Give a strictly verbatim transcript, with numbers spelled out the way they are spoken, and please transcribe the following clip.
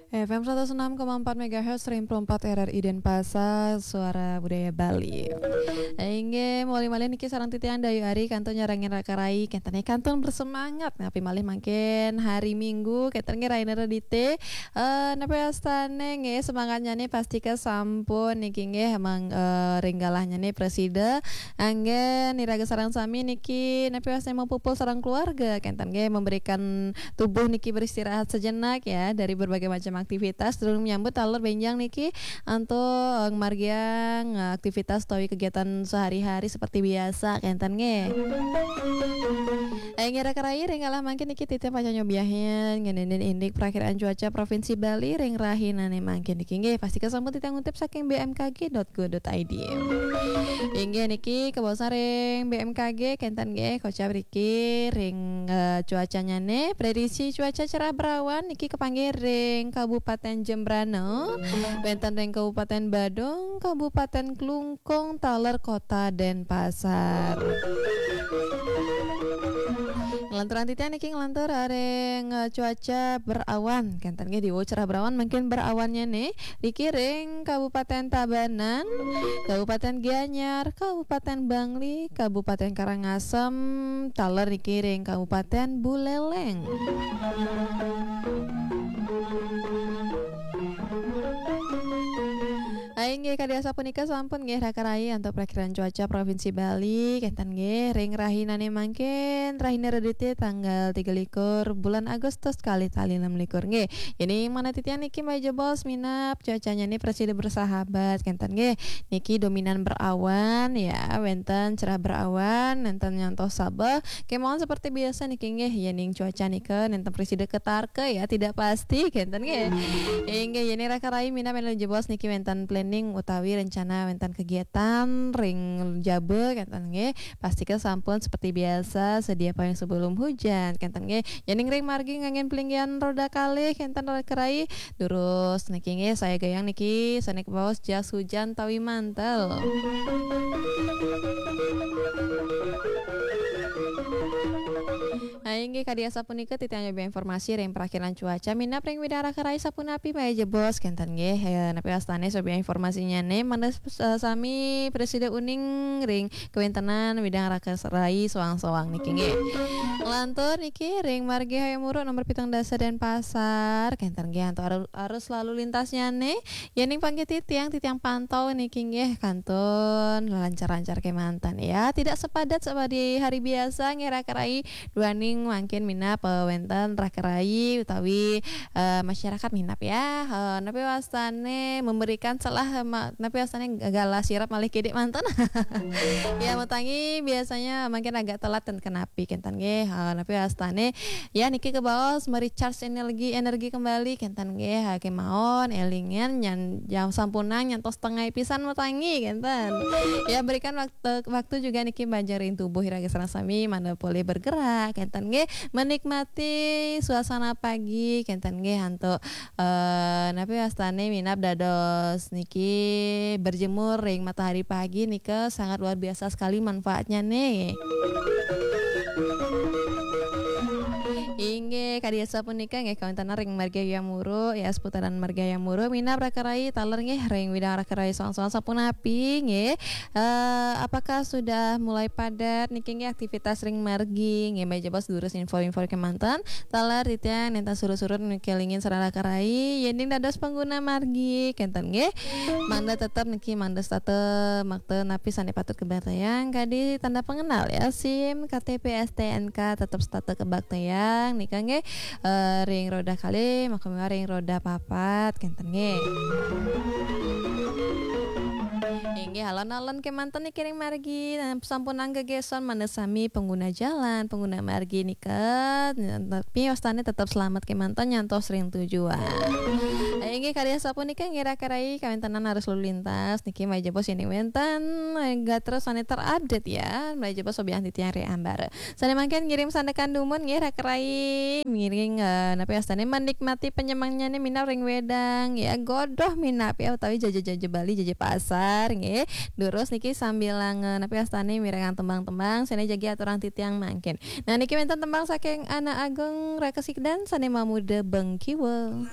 F M seratus enam koma empat megahertz, Ring empat R R I Denpasar, Suara Budaya Bali. Inggih, malih-malih niki sareng titiang Dayu Ari, kantun nyarengin raka rai, kenten nggih kantun bersemangat, napi malih mangkin hari Minggu, kenten nggih rahina Redite. Eh, napi wastane nggih semangatnyane pastika sampun niki nggih mang, eh, ring galahnyane prasida. Anggen iraga sareng sami niki napi wastane mapupul sareng keluarga, kenten nggih memberikan tubuh niki beristirahat sejenak ya dari berbagai macam aktivitas, durung nyambut taler benjang niki antuk, eh, margiang, eh, aktivitas utawi kegiatan sehari-hari seperti biasa, kenten nggih. Inggih raka rai, ring galah mangkin niki titiang pacang nyobiahin ngeninin indik perakiraan cuaca Provinsi Bali ring rahinane mangkin niki nggih. Pastika sampun titiang ngutip saking B M K G dot go dot I D. Inggih niki kabaosan ring B M K G, kenten nggih kocap riki ring, eh, cuacanyane. Prediksi cuaca cerah berawan niki kapanggih ring Kabupaten Jembrana, wenten ring Kabupaten Badung, Kabupaten Klungkung, taler Kota Denpasar. Nglanturang titiang niki nglantur ring, eh, cuaca berawan. Kenten nggih diwu cerah berawan mangkin berawannyané. Niki ring Kabupaten Tabanan, Kabupaten Gianyar, Kabupaten Bangli, Kabupaten Karangasem, taler niki ring Kabupaten Buleleng. Inggih, kadi asapunika sampun nggih raka rai antuk prakiraan cuaca Provinsi Bali, kenten nggih ring rahinane mangkin, rahina Redite tanggal tiga likur bulan Agustus kalih tali enam likur nggih. Jadi mana titiang niki malih jebos minab cuacanyane prasida bersahabat, kenten nggih. Niki dominan berawan ya, wenten cerah berawan, nenten nyantos sabeh. Kemawon seperti biasa niki nggih, yening cuaca nika nenten prasida ketarka ya, tidak pasti, kenten nggih. Inggih, yening raka rai minab malih jebos niki wenten planning utawi rencana wenten kegiatan ring jaba, kenten nggih. Pastika sampun seperti biasa sedia payung sebelum hujan, kenten nggih. Yening ring margi nganggen pelinggihan roda kalih, kenten raka rai. Durus niki nggih, saya gayang niki sane kabaos jas hujan tawi mantel. Nah, inggih kadi asapunika titiang nyobi informasi ring prakiraan cuaca minab ring widang raka rai sapunapi malih jebos, kenten nggih. Eh, napi wastane nyobi informasinyane mangda, eh, sami prasida uning ring kawentenan widang raka rai soang-soang niki nggih. Nglantur niki ring margi Hayam Wuruk nomor pitung dasa Denpasar, kenten nggih antuk aru-, arus lalu lintasnyane. Yening panggih titiang, titiang pantau niki nggih kantun lancar-lancar kemanten ya. Tidak sepadat seperti hari biasa nggih raka rai, duaning mangkin minab, eh, wenten raka rai utawi, eh, masyarakat minab ya. Eh, napi wastane memberikan celah, eh, ma-, napi wastane galah sirep malih kidik manten. Ya, matangi biasanya mangkin agak telat ten kenapi kenten nggih. Eh, napi wastane ya niki kabaos merecharge energi, energi kembali kenten nggih. Ha, kemawon elingan nyan jam sampunang nyantos setengah pisan matangi kenten. Ya, berikan waktu, waktu juga niki bajeng ring tubuh iraga sareng sami mangda polih bergerak kenten nggih, menikmati suasana pagi kenten nggih antuk, eh, napi wastane minab dados niki berjemur ring matahari pagi nika sangat luar biasa sekali manfaatnya nih. Inggih, kadi asapunika nggih kawenten ring margi Hayam Wuruk ya, seputaran margi Hayam Wuruk minab raka rai taler nggih ring widang raka rai soang-soang sapunapi nggih. Eh, apakah sudah mulai padat niki nggih aktivitas ring margi? Nggih, malih jebos durus info-info kemanten. Taler titiang nenten surut-surut niki lingin sareng raka rai. Yening dados pengguna margi, kenten nggih. Mangda tetep niki mangda setata makta napi sane patut kabaktayang kadi tanda pengenal ya, SIM, K T P, S T N K tetep setata kabaktayang nika nggih. Eh, ring roda kalih, maka ring roda papat, kenten nggih. Inggih, alon-alon kemanten niki ring margi, nah, sampun anggegeson mangda sami pengguna jalan, pengguna margi nika, tapi wastane tetep selamat kemanten nyantos ring tujuan. Inggih, kadi asapunika nggih raka rai kawentenan arus lalu lintas niki malih jebos yening wenten, eh, gatra sane terupdate ya, malih jebos sobiahang titiang ring ambara. Sane mangkin ngirim sandekan dumun nggih raka rai. Ngiring, eh, napi wastane menikmati penyemangnyane minab ring wedang ya, godoh minab ya utawi jaja-jaja Bali, jaja pasar nggih. Durus niki sambilang, eh, napi wastane mirengang tembang-tembang sane jagi aturang titiang mangkin. Nah, niki wenten tembang saking Anak Agung Raka Sikdan sane mamuda Bengkiwa.